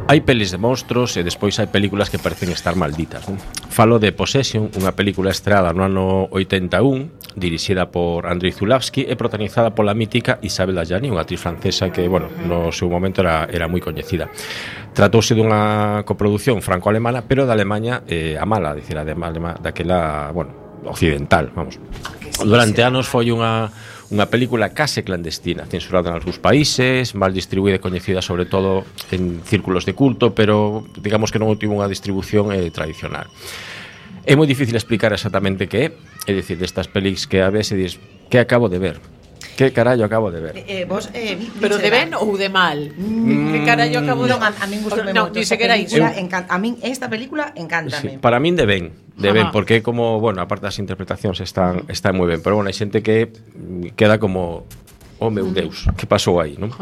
Hai pelis de monstros e despois hai películas que parecen estar malditas, non? Falo de Possession, unha película estreada no ano 81, dirixida por Andrei Zulawski e protagonizada pola mítica Isabelle Adjani, unha actriz francesa que, bueno, no seu momento era moi coñecida. Tratouse dunha coproducción franco-alemana, pero da Alemanha a mala, dicir, daquela, bueno, occidental, vamos. Durante anos foi unha película case clandestina, censurada en algúns países, mal distribuída e coñecida sobre todo en círculos de culto, pero digamos que non tivo unha distribución tradicional. É moi difícil explicar exactamente que é dicir, destas películas que a veces dis, que acabo de ver? Que carallo acabo de ver? Vos, pero de ben ou de mal? Que carallo acabo de ver? Non, a min gustoume moito. Ni sequera iso. A min esta película encántame. Sí, para min de ben, porque como, bueno, aparte das interpretacións están moi ben, pero bueno, hai xente que queda como oh meu Deus, que pasou aí, non?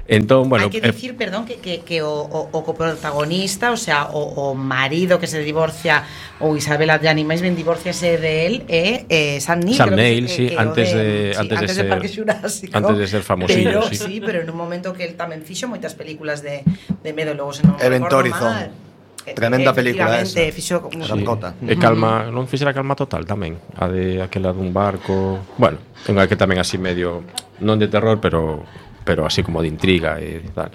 Entón, bueno, hai que dicir, perdón, que o coprotagonista, o sea, o marido que se divorcia ou Isabelle Adjani, máis ben divorciase de él Sam Neill. Sam Neill, sí, antes de ser Parque Xurásico. Antes de ser famosillo, sí. Sí, pero en un momento que él tamén fixo moitas películas de medo, logo se non recordo mal. Tremenda película esa. Fixo E Calma, non fixera Calma Total tamén, a de aquela dun barco. Bueno, unha que tamén así medio non de terror, pero así como de intriga e tal.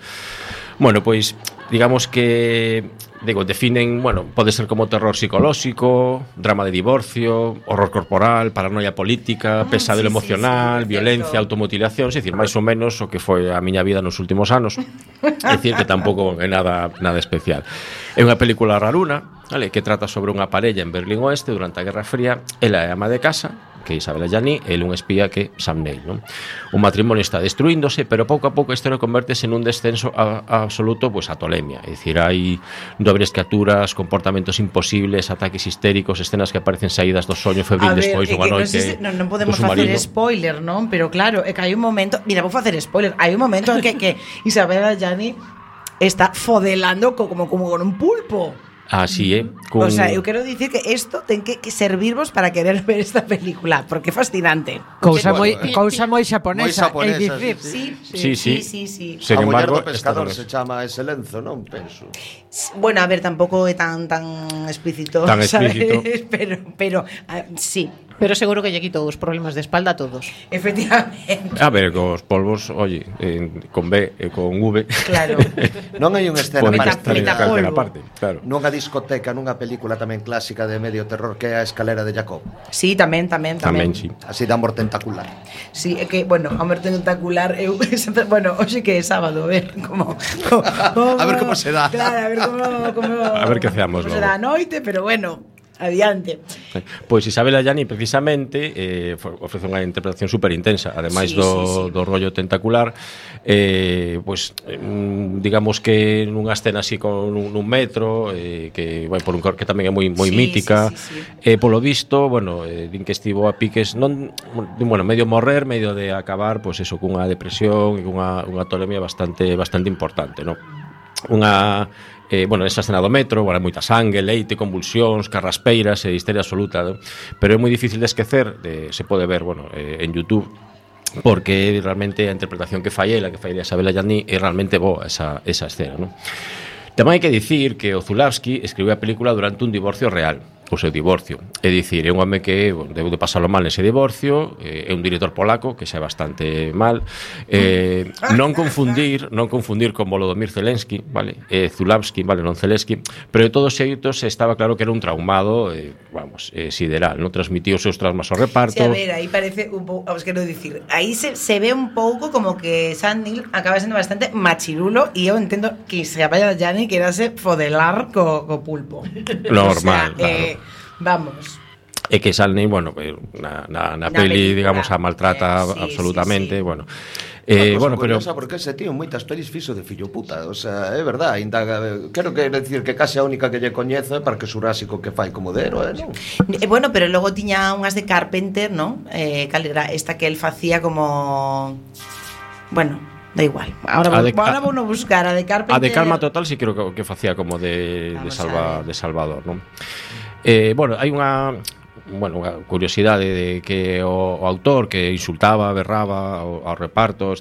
Bueno, pois digamos que definen, bueno, pode ser como terror psicolóxico, drama de divorcio, horror corporal, paranoia política, pesadelo emocional, violencia, automutilación, é dicir, máis ou menos o que foi a miña vida nos últimos anos. É dicir, que tampouco é nada especial. É unha película raruna, vale, que trata sobre unha parella en Berlín Oeste durante a Guerra Fría. Ela é ama de casa, que é Isabelle Adjani, e un espía que é Sam Neill, non? O matrimonio está destruíndose, pero pouco a pouco a historia convertese nun descenso absoluto, pois, a tolemia. É dicir, hai dobres criaturas, comportamentos imposibles, ataques histéricos, escenas que aparecen saídas do soño febril despois dunha noite. Non podemos facer spoiler, non? Pero claro, é que hai un momento, mira, vou facer spoiler, hai un momento en que Isabelle Adjani está fodelando como con un pulpo. Así é. O sea, eu quero dicir que isto ten que servirvos para querer ver esta película, porque é fascinante. Cousa moi xaponesa, é dicir. Sí. A muller do pescador se chama ese lenzo, non penso. Bueno, a ver, tampouco é tan explícito, tan explícito. Pero sí. Pero seguro que lle quitou os problemas de espalda a todos. Efectivamente. A ver, cos polvos, oye, con B e con V. Claro. Non hai unha escena para parte, claro. Nunha discoteca, nunha película tamén clásica de medio terror que é A escalera de Jacob. Sí, tamén. Sí. Así de amor tentacular. Sí, é que, bueno, amor tentacular, bueno, hoxe que é sábado, a ver como a ver como se dá. Claro, a ver como a ver que feamos logo. Será a noite, pero bueno, adiante. Pois Isabelle Adjani precisamente ofrece unha interpretación super intensa, ademais do rollo tentacular, pois digamos que nunha escena así con un metro, que vai por un que tamén é moi mítica, polo visto, bueno, din que estivo a piques non, bueno, medio morrer, medio de acabar, pois eso, cunha depresión e cunha tolemia bastante importante, non? Bueno, esa escena do metro, bueno, moita sangue, leite, convulsións, carraspeiras e histeria absoluta, ¿no? Pero é moi difícil de esquecer, se pode ver, bueno, en YouTube, porque realmente a interpretación que fai ela, que fai Isabelle Adjani, é realmente boa esa escena, ¿no? Tamén hai que dicir que o Zulawski escribiu a película durante un divorcio real, o seu divorcio. É dicir, é un home que debeu de pasalo mal nese divorcio, é un director polaco que xa é bastante mal. Non confundir con Volodymyr Zelensky, vale? Zulawski, vale, non Zelensky, pero de todos xeitos estaba claro que era un traumado, sideral, non transmitiu os seus traumas ao reparto. Sí, a ver, aí parece un pouco, os quero dicir, aí se ve un pouco como que Sam Neill acaba sendo bastante machirulo e eu entendo que Isabelle Adjani querase fodelar co pulpo. Normal, o sea, claro. Vamos. É que Sam Neill, bueno, na peli, digamos, a maltrata absolutamente, bueno. Bueno, pero porque ese tío moitas pelis fixo de fillo puta, o sea, é verdad, ainda quero que decir que case a única que lle coñezo é Parque Xurásico que fai como de héroe, non? Bueno, pero logo tiña unhas de Carpenter, non? Cal era esta que el facía como bueno, da igual. Ahora vou no buscar a de Carpenter. A de Calma Total sí creo que facía como de Salvador, non? Bueno, hai unha bueno, unha curiosidade de que o autor que insultaba, berraba ao reparto,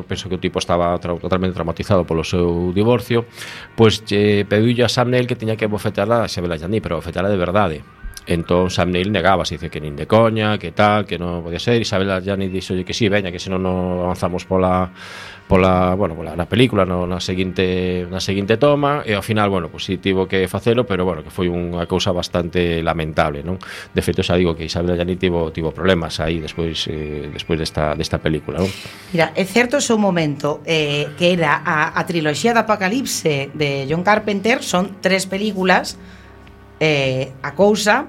penso que o tipo estaba totalmente traumatizado polo seu divorcio, pois pediulle a Sam Neill que tiña que bofetarla a Isabel Allende, pero bofetarla de verdade. Entón Sam Neill negaba, se dice que nin de coña, que tal, que non podía ser. Isabel Allende dixolle que sí, veña, que senón non avanzamos pola na película, na seguinte toma, e ao final, bueno, pues sí tivo que facelo, pero bueno, que foi unha cousa bastante lamentable, non? De feito, xa digo que Isabel Allende tivo problemas aí despois desta película, non? Mira, é certo o seu momento, que era a triloxía de Apocalipse de John Carpenter, son 3 películas, A Cousa,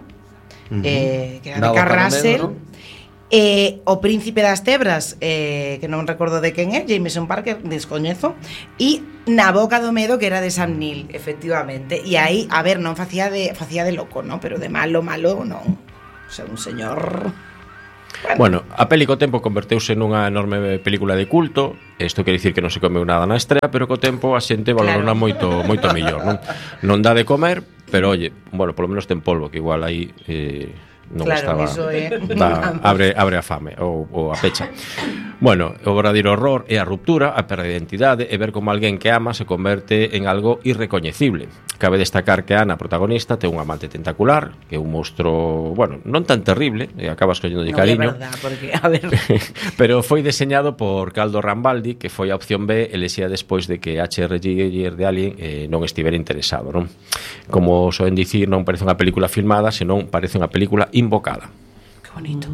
que era de Carl Russell, O Príncipe das Tebras, que non recordo de quen é, Jameson Parker, descoñezo, e Na Boca do Medo, que era de Sam Neill, efectivamente. E aí, a ver, non facía de loco, ¿no? Pero de malo, non. O sea, un señor... Bueno, a peli co tempo converteuse nunha enorme película de culto. Isto quere dicir que non se comeu nada na estrea, pero co tempo a xente valorona moito mellor, non? Non dá de comer, pero oye, bueno, polo menos ten polvo, que igual aí non claro, estaba. Eso é. Abre a fame ou a pecha. Bueno, o verdadeiro horror é a ruptura, a perda de identidade e ver como alguén que ama se converte en algo irrecoñecible. Cabe destacar que Ana, a protagonista, ten un amante tentacular, que é un monstro, bueno, non tan terrible, e acabas colléndolle cariño. Non é verdad, porque, a ver... Pero foi deseñado por Caldo Rambaldi, que foi a opción B elexida despois de que H.R. Giger de Alien non estivera interesado, non? Como soen dicir, non parece unha película filmada, senón parece unha película invocada. Que bonito.